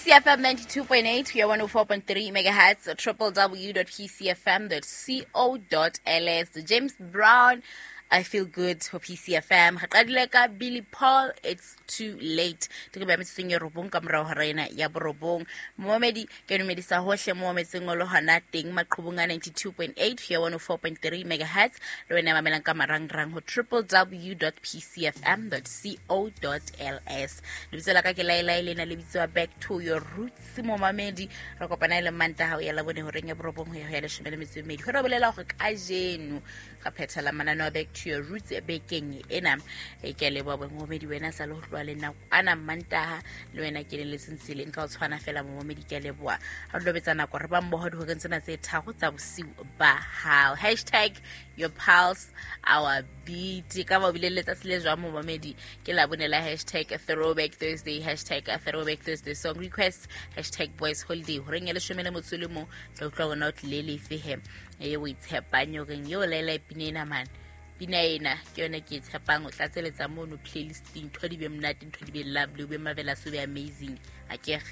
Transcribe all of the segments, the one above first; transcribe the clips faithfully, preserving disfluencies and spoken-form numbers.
P C F M ninety-two point eight ho ya one oh four point three megahertz, triple w dot p c f m dot co dot l s. James Brown, I Feel Good ho P C F M. Re qadile ka Billy Paul, It's Too Late. Ke ba metsotsong e robong ka morao hora ena ya borobong. Momedi ke dumedisa hohle mo metseng o le hona teng maqhubung a ninety-two point eight ho ya one oh four point three megahertz. Le wena ya mamelang ka marangrang ho triple w dot p c f m dot co dot l s. Lebitso la ka ke Lailai, lena le bitswa Back to Your Roots. Momamedi re kopana le Mantaha ho ya Labone horeng ya borobong ho ya ho ya leshome le metso e mmedi. Ho re bolela hore kajeno re phethela mananeo a Back to Your Roots bekeng ena. E ke a leboha momamedi wena sa le ho tloha le nako ana Mantaha le wena ke leletseng tseleng ka ho tshwana fela momamedi ke a leboha. Ha re lobetsa nako re ba mmoho dihoreng tsena tse tharo tsa bosiu ba hao. Hashtag your pulse our beat. Ka ba o bile le letsatsi le jwang momamedi? Ke Labone la hashtag Throwback Thursday, hashtag Throwback Thursday song requests, hashtag boys holiday. Horeng ya leshome le motso le mong tla utlwa hore na o tlile lefe he e o itshepang horeng eo laela pina ena mane. Pina ena ke yona ke e tshepang, o tlatseletsa mono playlisting, ntho di be monate, ntho di be lovely, o be marvelous, o be amazing. Akere?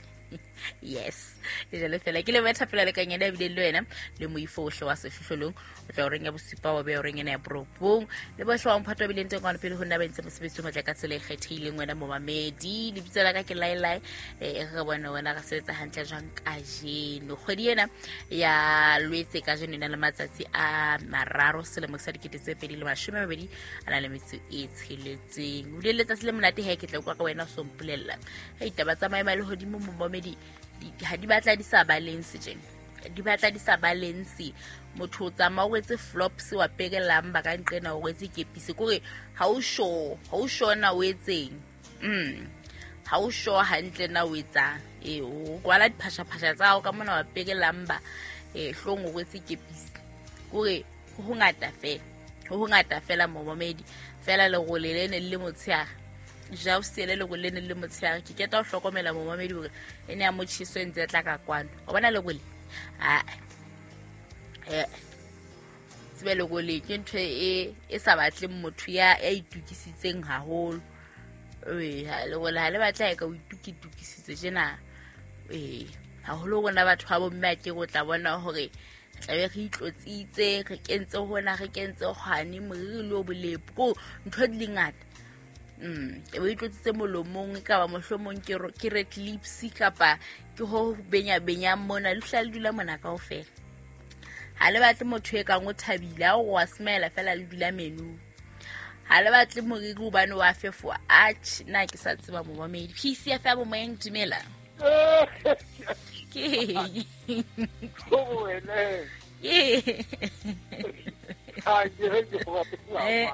Yes. Ke jalo fela ke le betha fela le kanyana ebile le wena le moifo ohle wa sehlohlolong o tla horeng ya bosupa wa be horeng ena ya borobong le bohle wa mphato wa bileng teng kwana pele ho nna ba entse mosebetsi o motle ka tsela e kgethehileng wena momamedi. Lebitso la ka ke Lailai, e re bone wena re sebetsa hantle jwang kajeno. Kgwedi ena ya Lwetse kajeno e na le matsatsi a mararo selemo sa dikete tse pedi le mashome a mabedi a na le metso e tsheletseng. O bile letsatsi le monate he ke tla utlwa ka wena o so mpolella. Hei, taba tsa maemo a lehodimo momamedi ha di batla di sa balance tjena, di batla di sa balance. Motho o tsamaya o rwetse flops wa pekelang ba ka nqena o rwetse kepisi kore ha o sure, ha o sure na o etseng. Mm. Ha o sure hantle na o etsang. Eh, o kwala diphashaphasha tsa hao ka mona wa pekelang ba eh hlong o rwetse kepisi. Kore ho hongata fela, ho hongata fela momamedi. Fela lerole le ne le motshehare. Ja o siele lerole le ne le motshehare. Ke keta ho hlokomela momamedi hore e ne ya motjheso e ntse e tla ka kwano. O bona lerole? Ah. Eh. Tsebe lerole ke ntho e, e sa batleng motho ya, ya itukisitseng haholo. Eh, ha lerole ha le batla e ka o itukisitse tjena. Eh, haholo rona batho ba bomme a ke o tla bona hore tlabe re itlotsitse, re kentse hona, re kentse hwane, moriri le o bolepo. Ko ntho di le ngata. Mm, e bo itlotsitse molomong, e ka ba mohlomong ke ro-, ke red lips kapa ke ho benya benya mona, le hla le dula mona kaofela. Ha le batle motho e kang o thabile, ha o wa smile fela le dula menu. Ha le batle moriri hobane wa fefowa. Atjhe, nna ke sa tseba momamedi. P C F M moyeng, dumela. Ke eng? Ko wena. Ke Ha ke re ke go batla. Eh.